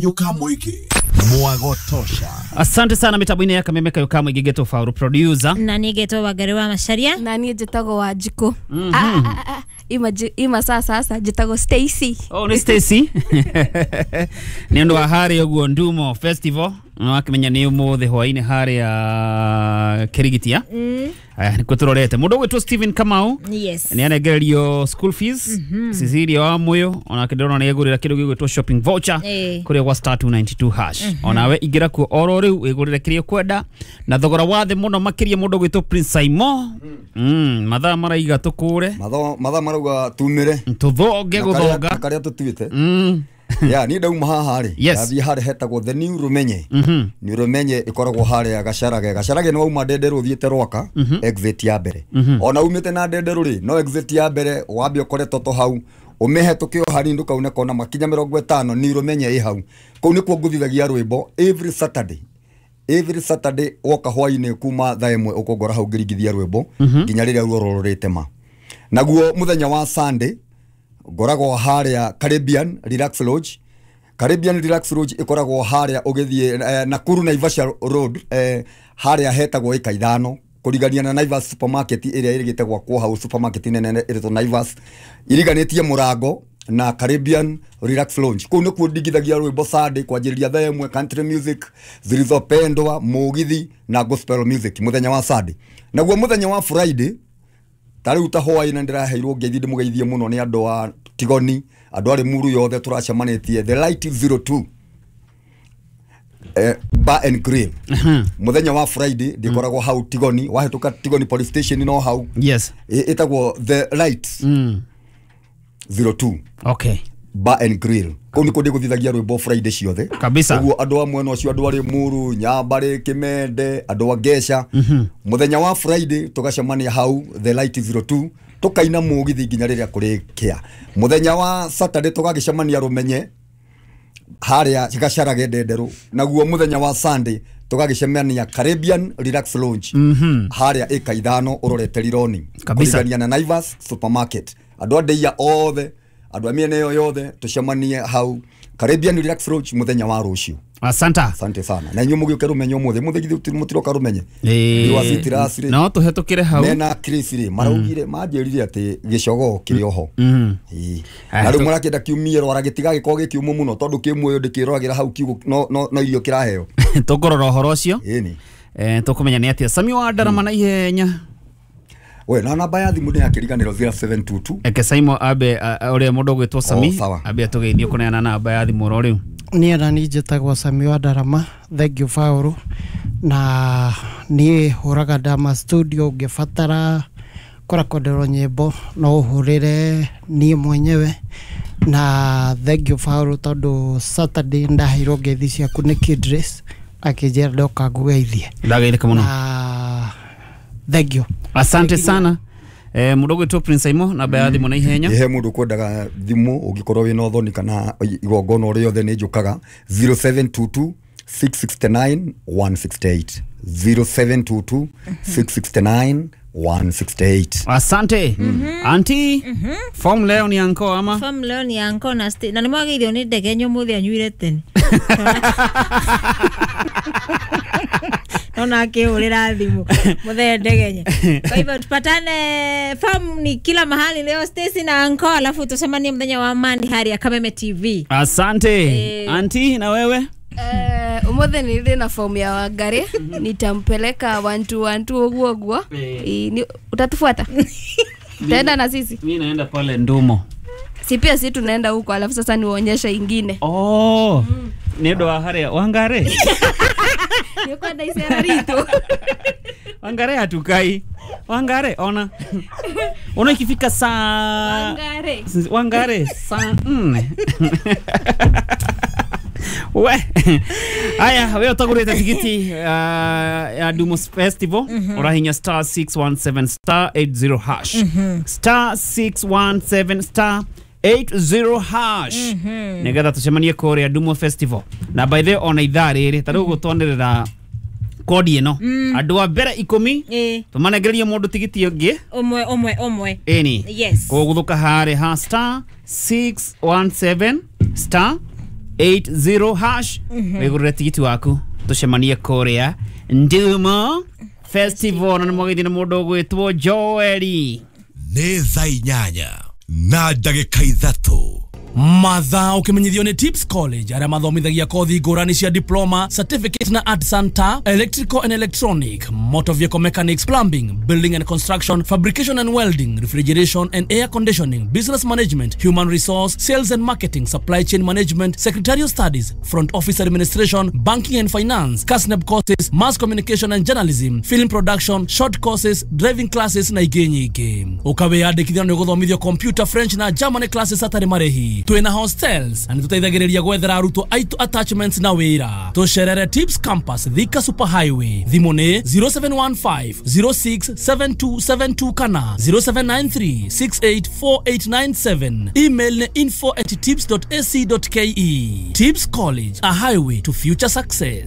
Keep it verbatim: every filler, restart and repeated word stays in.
Yukamwiki Mwagotosha. Asante sana mitambo-inĩ ya Kameme Kayo Kamwingĩ ngetwo Faulu producer na niĩ ngetwo Wangari wa Macharia na niĩ njĩtagwo Wanjikũ. mm -hmm. ah, ah, ah, ima, ima sasa sasa njĩtagwo Stacy. Oh, nĩ Stacy. Nĩ ũndũ wa harĩa ũguo Ndumo Festival wakimenya nĩ ũmũthĩ hwaĩ-inĩ harĩa Kĩrigitia. Mm. Aya nĩkuo tũrorete mũndũ ũgwĩtwo Stephen Kamau. Yes. Nĩ arengererio school fees. mm -hmm. Cecilia wa Muyo onake ndĩrona nĩ egũrĩra kĩndũ gĩgwĩtwo shopping voucher kũrĩa gwa star two ninety two hash. mm -hmm. Onawe ingĩra kuo oro rĩu wĩgũrĩre kĩrĩa ũkwenda na thogora wa thĩ mũno makĩria mũndũ ũgwĩtwo Prince Simon. Mm, mathaa maraiga tũkũre mathaa marauga tumĩre tũthonge gũthonga karĩa tũtuĩte. Mm. Ya ni ndauma haha rĩ Yes. Ndathiĩ harĩa hetagwo the new Rumenye. mm -hmm. New Rumenye ĩkoragwo harĩa Gacarage. Gacarage nĩ wauma Ndenderũ ũthiĩte Rwaka. mm -hmm. Exit ya mbere. mm -hmm. Ona umĩte na Ndenderũ rĩ no exit ya mbere wambe ũkore toto hau ũmĩhetũke o hanini ndũkaune kona makinya mĩrongo ĩtano New Rumenye ĩ hau. Kũu nĩkuo ngũthithagia rwĩmbo every Saturday. Every Saturday woka hwainĩ kuma thaa ĩmwe ũkũngora hau ngĩringithia rwĩmbo nginya rĩrĩa ruo rũrĩtema. Naguo mũthenya wa Sunday ngoragwo harĩa Caribbean Relax Lodge. Caribbean Relax Lodge ĩkoragwo harĩa ũgĩthiĩ eh, Nakuru Naivasha Road, eh, harĩa hetagwo ĩka ithano kũrigania na Naivas supermarket ĩrĩa ĩrĩgĩte gwakwo hau, supermarket nene ĩrĩtwo Naivas iriganĩtie mũrango na Caribbean Relax Lounge. Kũu nĩkuo ndingithagia rwĩmbo Sunday kwanjĩrĩria thaa ĩmwe, country music, zilizopendwa, mũgithi na gospel music mũthenya wa Sunday. Naguo mũthenya wa Friday ta rĩu ta hwaĩ-inĩ ndĩraheirwo ngeithi ndĩmũgeithie mũno nĩ andũ a Tigoni, andũ a Limuru yothe tũracemanĩtie The Light zero two eh, Bar and Grill. Mũthenya wa Friday ndĩkoragwo hau Tigoni, wahĩtũka Tigoni Police Station no hau. Yes. Ĩtagwo The Light mm. zero two. Okay. Bar and Grill. Kũu nĩkuo ndĩgũthithagia rwĩmbo Friday ciothe kabisa. Ũguo andũ a mwena ũcio, andũ a Limuru, Nyambarĩ, Kĩmende, andũ a Ngeca, mũthenya wa Friday tũgacemania hau The Light zero two tũkaina mũgithi nginya rĩrĩa kũrĩkĩa. Mũthenya wa Saturday tũgagĩcemania Rũmenye harĩa Gacarage Ndenderũ. Naguo mũthenya wa Sunday tũgagĩcemania Caribbean Relax Lounge. mm -hmm. Harĩa ĩka ithano ũrorete Rironi kabisa, kũrigania na Naivas supermarket. Andũ a Ndeia othe, andũ a mĩena ĩyo yothe tũcemanie hau Caribbean Relax Lodge mũthenya wa rũciũ. Asante. Asante sana. Na inyuĩ mũgĩũke Rũmenye ũmũthĩ, mũthĩ githĩ mũtiroka Rũmenye? Ĩĩ. No tũhetũkĩre hau. Mena Chris rĩ maraugire manjĩrire atĩ gĩcogoo kĩrĩ oho. Ĩĩ. Na rĩu mũrakĩenda kiumie rwara gĩtigagĩkorwo gĩ kĩũmũ mũno tondũ kĩ muoyo ndĩkĩroragĩra hau kiugũ no no no irio kĩraheo. Tũkũrora ũhoro ũcio. Ĩni. Eh tũkũmenya nĩ atĩa. Sami wa Ndarama na ihenya. We na namba ya thimũ nĩ yakĩriganĩrwo zero seven two two. Eke Saimo abe ũrĩa mũndũ ũgwĩtwo Sami oh, abe atũgeithie kũneana namba ya thimũ oro rĩu. Niĩ na niĩ njĩtagwo Sami wa Ndarama, thank you Faulu. Na niĩ hũraga Ndama studio, ũngĩbatara kũrekonderwo nyĩmbo no ũhũrĩre niĩ mwenyewe. Na thank you Faulu tondũ Saturday ndaheirwo ngeithi ciaku nĩ Kidres akĩnjĩra ndoka ngũgeithie. Ndageithĩka mũno. Na thank you. Asante sana. Eh mũndũ ũgwĩtwo Prince Simon namba ya thimũ na ihenya. Ihe mũndũ kwendaga thimũ ũngĩkorwo wĩna ũthoni kana igongona o rĩothe nĩ njũkaga zero seven two two six six nine one six eight zero seven two two six six nine one six eight. Asante. Mm -hmm. Auntie, mm -hmm. Form leo ni anko ama? Form leo ni anko na sti na nimwageithio nĩ ndege nyũmũthĩ anyuire tene. Naona akihurira thimu muthee Ndegenye. Kwa hivyo tupatane form ni kila mahali leo Stacy na anko, alafu tusemanie mũthenya wa Monday harĩa Kameme T V. Asante. E... Auntie, na wewe? Eh, umuthi ni ndĩ na form ya Wangari nitampeleka one two one two ũguo ũguo. Utatufuata? Tenda na sisi. Mimi naenda pale Ndumo. Si pia sisi tunaenda huko alafu sasa niwaonyeshe ingine. Oh. Mm. Nĩ ũndũ wa harĩa Wangari. Nĩũkwenda icera ritũ. Wangari hatukai. Wangari ona. Ona ikifika saa Wangari. Wangari saa nne. We. Aya, we utagurite tikiti uh, ya Ndumo Festival. mm -hmm. Urahinya star six one seven star eight zero hash. mm -hmm. Star six one seven star eight zero hash. mm -hmm. Nigetha tucemanie kuria Ndumo Festival. Na by the ona ithaa rĩrĩ ta rĩu gũtwanĩrĩra kodi ĩno mm. Andũ a mbere ikũmi eh tũmanengererie mũndũ tigiti ũngĩ ũmwe ũmwe ũmwe. Ĩni. Yes. Kũgũthũka harĩ ha star six one seven star eight zero hash wĩgũrĩre tigiti waku tũcemanie kũrĩa Ndumo Festival na nĩ mwagĩthi nĩ mũndũ ũgwĩtwo Joeli. Nĩ thaa inyanya na ndagĩka ithatũ. Mathaa ũkĩmenyithio nĩ Tips College arĩa mathomithagia kothi ngũrani cia diploma, certificate na art center, electrical and electronic, motor vehicle mechanics, plumbing, building and construction, fabrication and welding, refrigeration and air conditioning, business management, human resource, sales and marketing, supply chain management, secretarial studies, front office administration, banking and finance, KASNEB courses, mass communication and journalism, film production, short courses, driving classes na ingĩ nyingĩ. Ũkawĩyandĩkithia na nĩ ũgũthomithio computer, French na German classes hatarĩ marĩhi. Twĩna hostels na nĩtũteithagĩrĩria gwethera arutwo aitũ attachments na wĩra. Tũcerere Tips Campus, Thika Super Highway. Thimũ nĩ zero seven one five zero six seven two seven two kana zero seven nine three six eight four eight nine seven. Email nĩ info at tips dot ac dot ke. Tips College, a highway to future success.